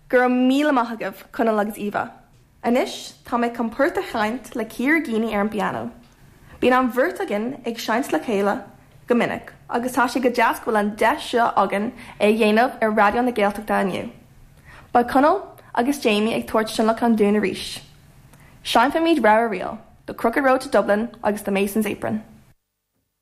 Go raibh míle maith agaibh, Conall agus Eva. Anois tá mé chun port a sheinnt le Ciara Geaney ar an bpianó. Bíonn an bheirt againn ag seinnt le chéile go minic agus tá sé go deas go bhfuil an deis seo againn é a dhéanamh ar Raidió na Gaeltachta inniu. Beidh Conall agus Jamie ag tabhairt tionlacan dúinn arís. Seinnfimid rogha ríl, The Crooked Road to Dublin agus The Mason's Apron.